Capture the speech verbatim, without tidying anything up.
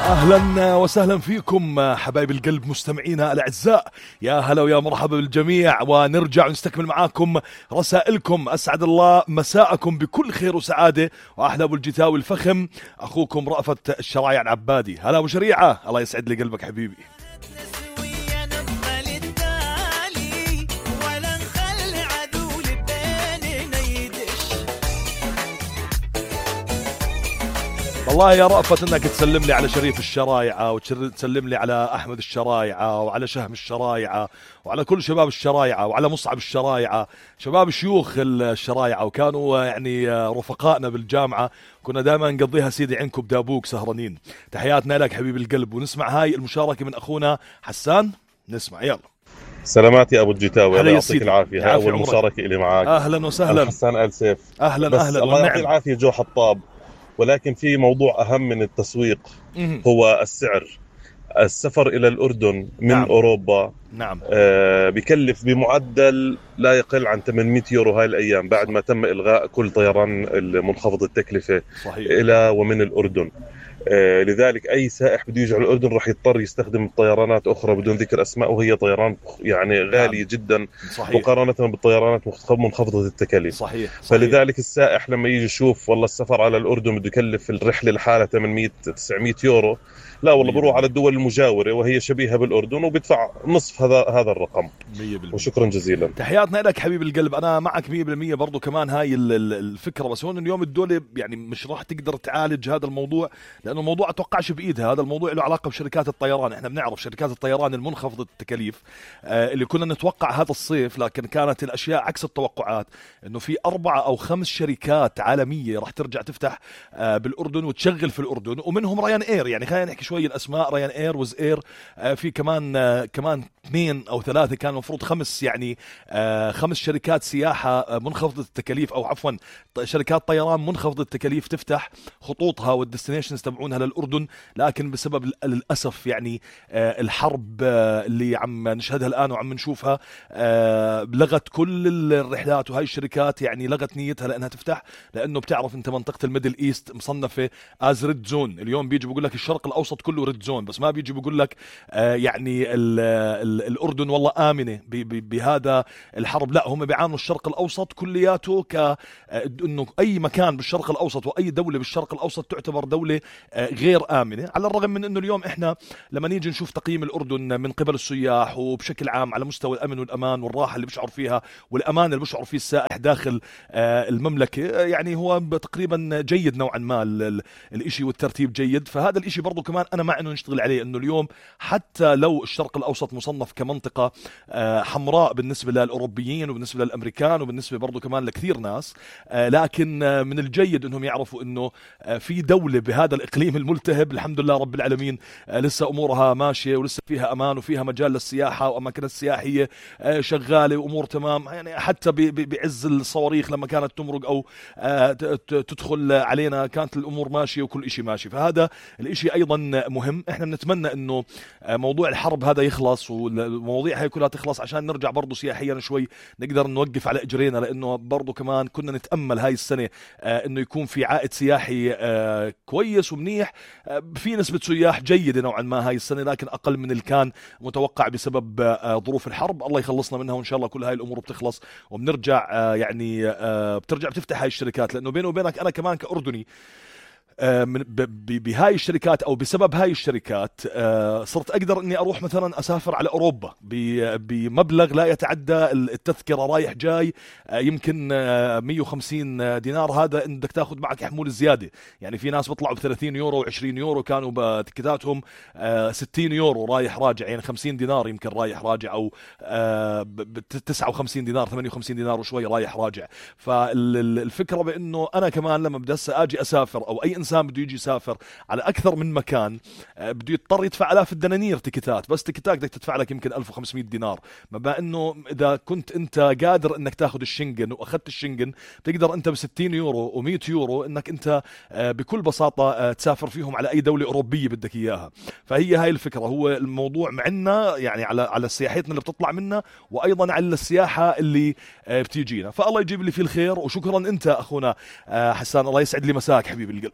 أهلا وسهلا فيكم حبايب القلب مستمعينا الأعزاء، يا هلا ويا مرحبا بالجميع، ونرجع ونستكمل معاكم رسائلكم. أسعد الله مساءكم بكل خير وسعادة، وأحلى أبو الجتاوي الفخم أخوكم رأفت الشرايع العبادي. هلا أبو شريعة، الله يسعد لي قلبك حبيبي. والله يا رأفت انك تسلم لي على شريف الشرايعة، وتسلم لي على احمد الشرايعة، وعلى شهم الشرايعة، وعلى كل شباب الشرايعة، وعلى مصعب الشرايعة، شباب شيوخ الشرايعة، وكانوا يعني رفقائنا بالجامعة، كنا دائما نقضيها سيدي عينكم بدابوك سهرانين. تحياتنا لك حبيب القلب، ونسمع هاي المشاركة من اخونا حسان. نسمع يلا. سلامات يا ابو الجتاوي، الله يعطيك العافيه. هاي اول مشاركه اللي معاك. اهلا وسهلا. حسان آل سيف. اهلا بس اهلا. الله يعطيه العافيه جو حطاب، ولكن في موضوع أهم من التسويق هو السعر. السفر إلى الأردن من نعم. أوروبا نعم. آه بيكلف بمعدل لا يقل عن ثمانمئة يورو هاي الأيام، بعد ما تم إلغاء كل طيران المنخفض التكلفة صحيح. إلى ومن الأردن. آه لذلك أي سائح بده يجي على الأردن رح يضطر يستخدم طيرانات أخرى بدون ذكر أسماء، وهي طيران يعني غالية نعم. جدا صحيح. مقارنة بالطيرانات منخفضة التكاليف صحيح. صحيح. فلذلك السائح لما يجي يشوف والله السفر على الأردن بده يكلف الرحلة لحالها ثمانمئة تسعمئة يورو، لا والله بروح على الدول المجاورة وهي شبيهة بالأردن وبدفع نصف هذا هذا الرقم. مية بالمية. وشكرا جزيلا. تحياتنا لك حبيب القلب، أنا معك مية بالمية برضو كمان هاي الفكرة. بس هون اليوم الدولة يعني مش راح تقدر تعالج هذا الموضوع، لأنه الموضوع أتوقعش بإيدها. هذا الموضوع له علاقة بشركات الطيران. إحنا بنعرف شركات الطيران المنخفضة التكاليف آه اللي كنا نتوقع هذا الصيف، لكن كانت الأشياء عكس التوقعات. إنه في أربعة أو خمس شركات عالمية راح ترجع تفتح آه بالأردن وتشغل في الأردن، ومنهم ريان إير. يعني خلينا نحكي شوي الأسماء، ريان إير، وز إير، آه في كمان آه كمان اثنين أو ثلاثة، كان المفروض خمس يعني آه خمس شركات سياحة آه منخفضة التكاليف، أو عفوا شركات طيران منخفضة التكاليف تفتح خطوطها والديستنيشنز تبعونها للأردن. لكن بسبب للأسف يعني آه الحرب آه اللي عم نشهدها الآن وعم نشوفها آه لغت كل الرحلات، وهاي الشركات يعني لغت نيتها لأنها تفتح، لأنه بتعرف أنت منطقة الميدل إيست مصنفة از ريد زون. اليوم بيجي بيقول لك الشرق الأوسط كله ريد زون، بس ما بيجي بيقول لك آه يعني ال ال الأردن والله آمنة بهذا الحرب. لا، هم بيعاملوا الشرق الأوسط كلياته ك آه إنه أي مكان بالشرق الأوسط وأي دولة بالشرق الأوسط تعتبر دولة آه غير آمنة. على الرغم من أنه اليوم إحنا لما نيجي نشوف تقييم الأردن من قبل السياح وبشكل عام على مستوى الأمن والأمان والراحة اللي بيشعر فيها والأمان اللي بيشعر فيه السائح داخل آه المملكة، يعني هو تقريبا جيد نوعا ما الإشي، والترتيب جيد. فهذا الإشي برضو كمان أنا مع أنه نشتغل عليه، أنه اليوم حتى لو الشرق الأوسط مصنف كمنطقة آه حمراء بالنسبة للأوروبيين وبالنسبة للأمريكان وبالنسبة برضو كمان لكثير ناس، آه لكن آه من الجيد أنهم يعرفوا أنه آه في دولة بهذا الإقليم الملتهب الحمد لله رب العالمين آه لسه أمورها ماشية، ولسه فيها أمان، وفيها مجال للسياحة، وأماكن السياحية آه شغالة، وأمور تمام. يعني حتى بعز الصواريخ لما كانت تمرق أو آه تدخل علينا كانت الأمور ماشية وكل إشي ماشي. فهذا الإشي أيضا مهم. إحنا بنتمنى أنه موضوع الحرب هذا يخلص، والمواضيع هاي كلها تخلص، عشان نرجع برضو سياحيا شوي نقدر نوقف على إجرينا، لأنه برضو كمان كنا نتأمل هاي السنة أنه يكون في عائد سياحي كويس ومنيح. في نسبة سياح جيدة نوعا ما هاي السنة، لكن أقل من اللي كان متوقع بسبب ظروف الحرب. الله يخلصنا منها، وإن شاء الله كل هاي الأمور بتخلص وبنرجع يعني بترجع بتفتح هاي الشركات. لأنه بيني وبينك أنا كمان كأردني بهاي الشركات او بسبب هاي الشركات صرت اقدر اني اروح مثلا اسافر على اوروبا بمبلغ لا يتعدى التذكره رايح جاي يمكن مية وخمسين دينار. هذا انك بدك تاخذ معك حمول زياده. يعني في ناس بيطلعوا ب ثلاثين يورو و20 يورو، كانوا بتكتاتهم ستين يورو رايح راجع، يعني خمسين دينار يمكن رايح راجع، او تسعة وخمسين دينار ثمانية وخمسين دينار وشوي رايح راجع. فالفكره بانه انا كمان لما بدي اجي اسافر، او اي إنسان بده يجي يسافر على أكثر من مكان، بده يضطر يدفع آلاف الدنانير تيكتات. بس تيكتات بدك تدفع لك يمكن ألف وخمسمئة دينار. ما إنه إذا كنت أنت قادر إنك تأخذ الشنغن وأخذت الشنغن، تقدر أنت بستين يورو ومئة يورو إنك أنت بكل بساطة تسافر فيهم على أي دولة أوروبية بدك إياها. فهي هاي الفكرة. هو الموضوع معنا يعني على على سياحتنا اللي بتطلع منا، وأيضا على السياحة اللي بتيجينا. فالله يجيب لي فيه الخير. وشكرا أنت أخونا حسان، الله يسعد لي مساك حبيب القلب.